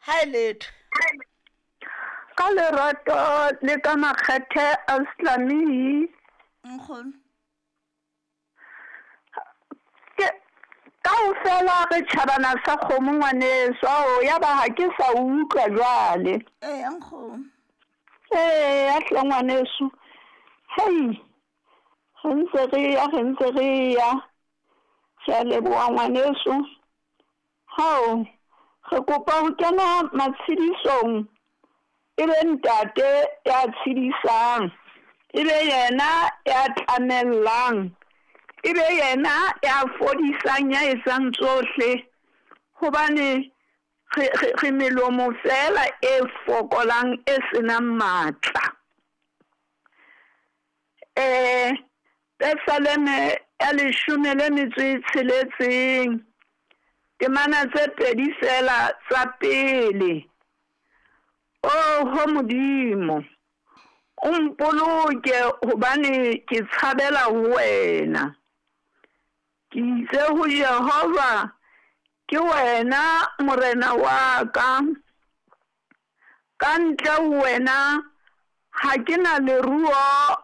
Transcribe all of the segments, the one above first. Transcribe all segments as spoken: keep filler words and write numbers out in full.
Ha e letho. Ka lerato le ka makgethe a Islami. Nkgono. Ke kaofela re tjhabana sa kgomo ngwaneso, ao ya ba ha ke sa utlwa jwale. Eya nkgono. Eya hle ngwaneso. Hei, re ntse re ya, re ntse re ya. Ke a leboha ngwaneso. Hao, re kopa ho kena matshedisong e be ntate ya tshedisang, e be yena ya tlamellang, e be yena ya fodisang, ya etsang tsohle. Hobane re, re, re melomo fela e fokolang e senang matla. Eh, Pesaleme ya leshome le metso e tsheletseng, temana tse pedi fela tsa pele. Oho Modimo, o mpoloke hobane ke tshabela ho wena. Ke itse ho Jehova, ke wena morena wa ka. Ka ntle ho wena ha ke na leruo,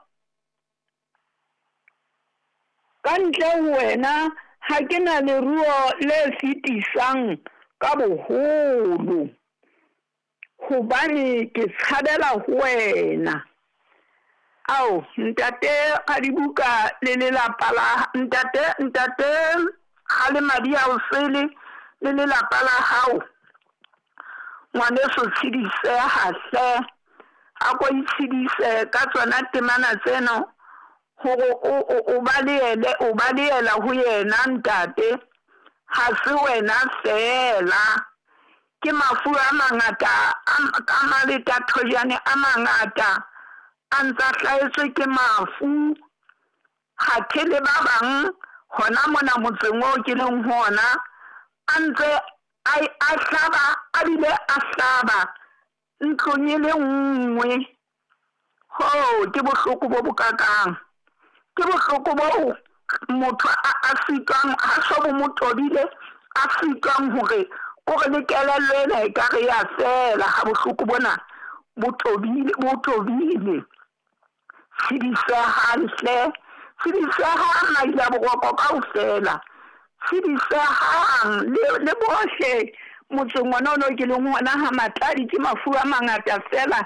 ka ntle ho wena ha ke na leruo le fetisang ka boholo, hobane ke tshabela ho wena. Ao, ntate Radibuka le lelapa la ntate, ntate Kgalemadi a o sele le lelapa la hao. Ngwaneso tshediseha hle, a ko itshedise ka tsona temana tsena hore o, o, o balehele, o balehela ho yena ntate. Ha se wena fela, ke mafu a mangata a, a maletathojane a mangata a ntsa hlahetswe ke mafu. Hathe le ba bang hona mona motseng oo ke leng ho ona a ntse a, a hlaba, a bile a hlaba ntlong e le nngwe. Ho, ke bohloko bo bokakang. Ke bohloko boo motho a, a sitwang, ha so bo mo tobile, a sitwang hore o re le kelello ena e ka re ya fela ha bohloko bona bo tobile, bo tobile. Tshedisehang hle, tshedisehang maila boroko kaofela. Tshedisehang le, le bohle motseng ona ono ke leng hona ha Matladi, ke mafu a mangata fela.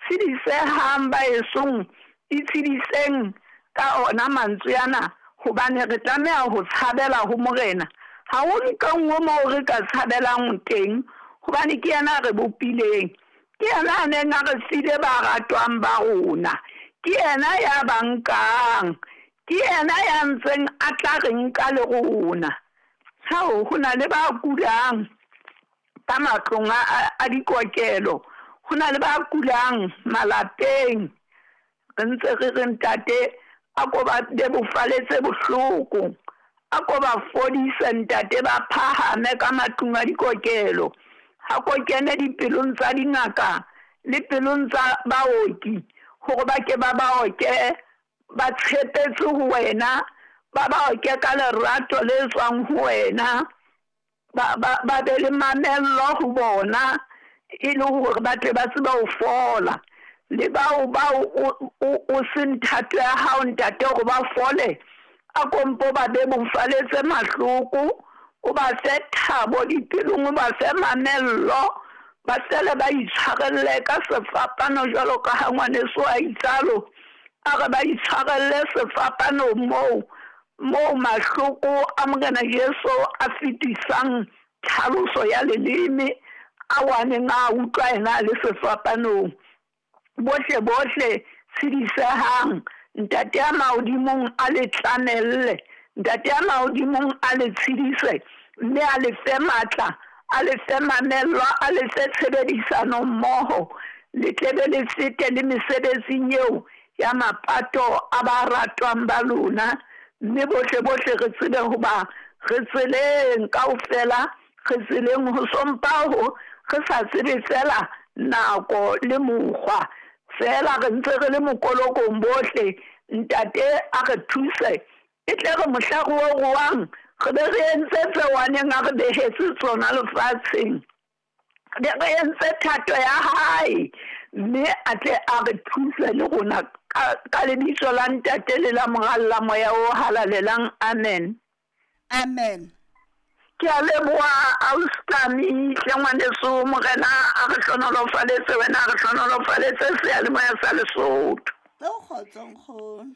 Tshedisehang ba esong, itshediseng ka ona mantswe ana, hobane re tlameha ho tshabela ho Morena. Ha ho ntho e nngwe moo re ka tshabelang teng, hobane ke yena a re bopileng, ke yena a neng a re file ba ratwang ba rona, ke yena ya ba nkang, ke yena ya ntseng a tla re nka le rona. Hao, ho na le ba kulang ka matlong a, a, a dikokelo, ho na le ba kulang malapeng. Re ntse re re ntate a ko ba bebofaletse bohloko, a ko ba fodise ntate, ba phahame ka matlung a dikokelo. Ha ko kene dipelong tsa dingaka le pelong tsa baoki, hore ba ke ba baoke ba tshepetse ho wena, ba baoke ka lerato le tswang ho wena, ba, ba, ba be le mamello ho bona, e le hore ba tle ba tsebe ho fola. Le bao, bao o, o, o seng thato ya hao ntate hore ba fole, a kompo ba bebofaletse mahloko, o ba fe thabo dipelong, o ba fe mamello, ba fele ba itshwarelle ka sefapano jwalo ka ha ngwaneso a itsalo, a re ba itshwarelle sefapano moo, moo mahloko a Morena Jesu a fetisang tlhaloso ya leleme a waneng a utlwa yena a le sefapanong. Bohle bohle tshedisehang, ntate ya mahodimong a le tlamelle, ntate ya mahodimong a le tshedise, mme a le fe matla, a le fe mamello, a le fe tshebedisano mmoho, le tle be le fete le mesebetsing eo ya mapato a ba ratwang ba lona. Mme bohle bohle re tsebe hoba re tseleng kaofela, re tseleng ho sompaho, re sa tsebe fela nako le mokgwa, fela re ntse re le mokolokong bohle. Ntate a re thuse, e tle re mohla re o ruang, re be re entse tseo a neng a re behetse tsona lefatsheng. Be re entse thato ya hae, mme a tle a re thuse le rona ka, ka lebitso la Ntate le la Mora le la Moya o Halalelang. Amen. Amen. Ke a leboha ausi hle ngwaneso, Morena a re hlohonolofaletse wena, a re hlohonolofaletse seyalemoya sa Lesotho. Ka kgotso, nkgono.